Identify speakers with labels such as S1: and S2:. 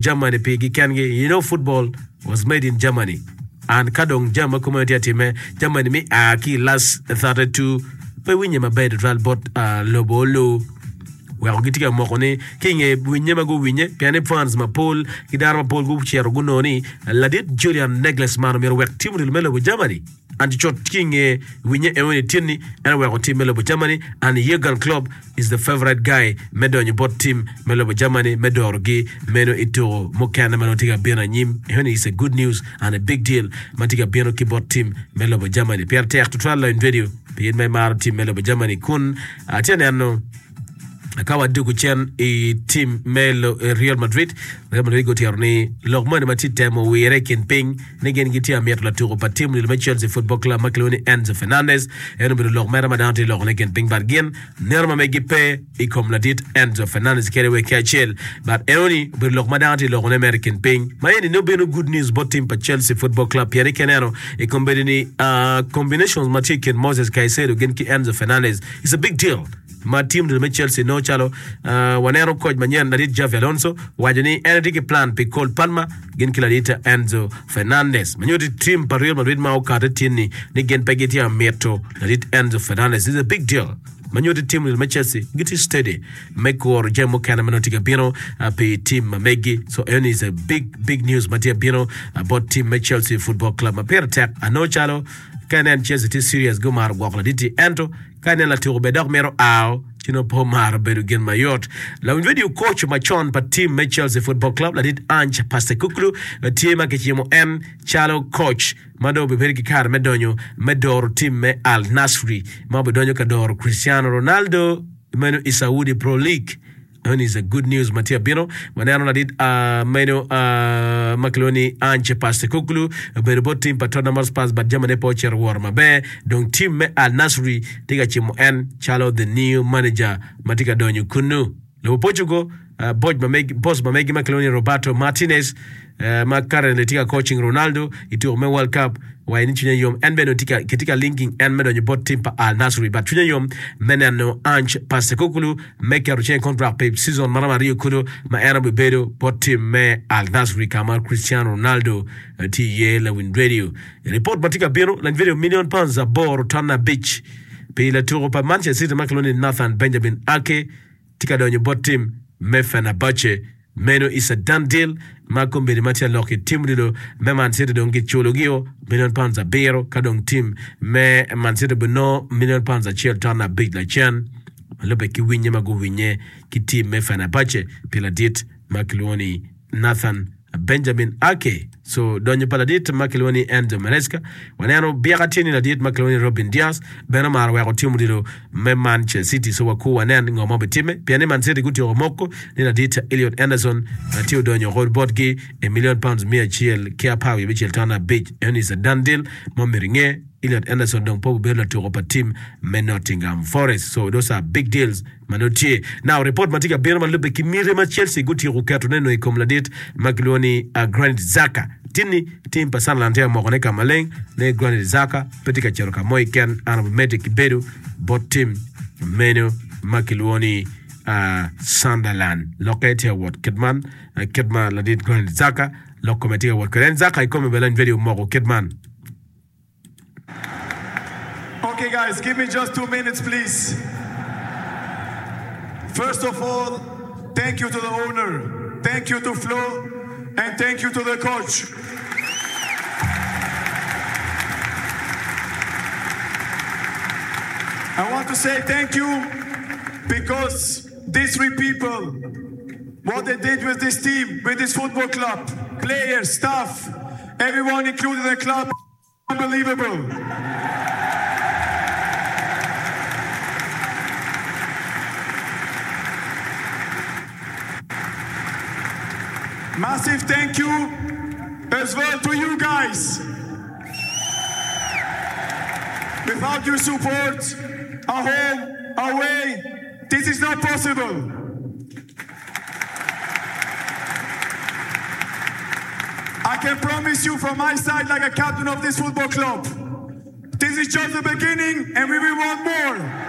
S1: Germany pigi kengi you know football was made in Germany and ka dong jami ma kumeno tye atime Germany mi a ki i last 32 pe winye maber tutwal bot lobo olu weko gitye ka moko ni ki inge winye ma guwinye pien ni fans mapol ki dano mapol gucito gunongo ni ladit Julian Nagelsmann omyero owek tim odilo me lobo Germany and cut ki inge winye enoni tye ni en oweko tim me lobo Germany and Jurgen Klopp is the favourite guy me donyo bot tim me lobo Germany me dorogi meno i tuko mukene ma nongo tye ka bino anyim. Enoni is a good news and a big deal ma tye ka bino ki bot tim me lobo Germany. Pire tek tutwal lony radio pi in ma imaro tim me lobo Germany kun atye ka neno Ka wadwogo cen i tim me Real Madrid, Real Madrid gutyero ni lok moni ma tye temo wire i kin piny ni gin gitye amito latuko pa tim odilo me Chelsea Football Club ma kilwongo ni Enzo Fernandez. En obedo lok mere ma dano tye lokone i kin piny but gin neno ma megi pe i kom ladit Enzo Fernandez kadi wa ki acel. But enoni obedo lok ma dano tye lokone mere i kin piny. Ma eni nongo bino good news bot tim pa Chelsea Football Club pien ni ka ineno i kombeddi ni combinations ma tye i kin Moses Caicedo gin ki Enzo Fernandez is a big deal. ma tim odilo me Chelsea nongo calo waneno koc manyen ladit Xavi Alonso owaco ni en etye ki plan pi Cole Palmer gin ki ladit Enzo Fernandez ma nyuto tim pa Real Madrid ma okate tin-ni ni gin pe gitye ka mito ladit Enzo Fernandez This is a big deal ma nyuto tim odilo me Chelsea gitye steady me kuro jami mukene ma nongo tye ka bino pi tim ma megi so eno is a big big news ma tye ka bino bot tim me Chelsea Football Club ma pire tek anongo calo ka inen Chelsea tye serious gumaro gwoko ladit-ti ento Ka inen latuko bene dok mito ao, ci nongo pe omaro bedo gin mayot. Lawiny redio koc macon pa tim me Chelsea Football Club ladit Ange Postecoglou tye ma kicimo en calo koc ma dong obibedo ki kare me donyo me doro tim me Al Nassr ma obidonyo ka doro Cristiano Ronaldo meno i Saudi Pro League. Meno is a good news ma tye abino. Waneno ladit meno ma kilwongo ni Ange Postecoglou obedo bot tim pa Tottenham Hotspurs but jamine pe ocito woro maber. Dong tim me Al Nassr tye ka cimo en calo the new manager ma tye ka donyo kunnu. Lobo Portugal, boc ma meg, boss ma megi ma kilwongo ni Roberto Martinez ma currently tye ka coaching Ronaldo i tuko me World Cup waco ni cwinye yom en bene kitye ka linking en me donyo bot tim pa Al Nassr but cwinye yom me neno Ange Postecoglou me keto cing i kontrak pi cizon maromo aryo kulu ma en obibedo bot tim me Al Nassr ka ma Cristiano Ronaldo tye iye. Lawiny Radio Ripot ma tye ka bino, lany video milion pounds 8.5 pi latuko pa Manchester City ma kilwongo ni Nathan Benjamin Ake tye ka donyo bot tim me Fenerbahce. Meno is a done deal ma kombeddi ma tye alok i tim odilo me Man City dong kiculo-gio milion pounds abiro ka dong tim me Man City obinongo milion pounds acel ton abic lacen ma lubbe ki winye ma guwinye ki tim me Fenerbahce pi ladit ma kilwongo ni Nathan Benjamin Ake. So donyo pa ladit ma kilwongo ni Enzo Maresca, waneno byeka tye ni ladit ma kilwongo ni Robin Dias bene omaro weko tim odilo me Manchester City. So wakur wanen ngo ma obitimme pien ni Man City gutyeko moko ni ladit Elliot Anderson tye odonyo oko botgi i million pounds 116 ton abic. Eno is a done deal ma omyero inge. Elliot Anderson dong pe obibedo latuko pa tim me Nottingham Forest. So those are big deals. ma nongo tye. Now, ripot ma tye ka bino ma lubbe ki miti ma Chelsea gutyeko ketone nongo i kom ladit ma kilwongo ni Granit Xhaka. Tin-ni, tim pa Sunderland tye ka mokone ka maleng ni Granit Xhaka pe tye ka cito ka mo keken ento obimedde ki bedo bot tim meno ma kilwongo ni Sunderland. Lokke tye ka wot kit man, kit ma ladit Granit Xhaka lok kome tye ka wot kwede. En Xhaka kikome bene lony vedio omoko kit man.
S2: Ok guys give me just two minutes please first of all thank you to the owner thank you to Flo and thank you to the coach I want to say thank you because these three people what they did with this team with this football club players staff everyone including the club Unbelievable! Massive thank you as well to you guys. Without your support, at home, away, this is not possible. I can promise you from my side like a captain of this football club, this is just the beginning and we will want more.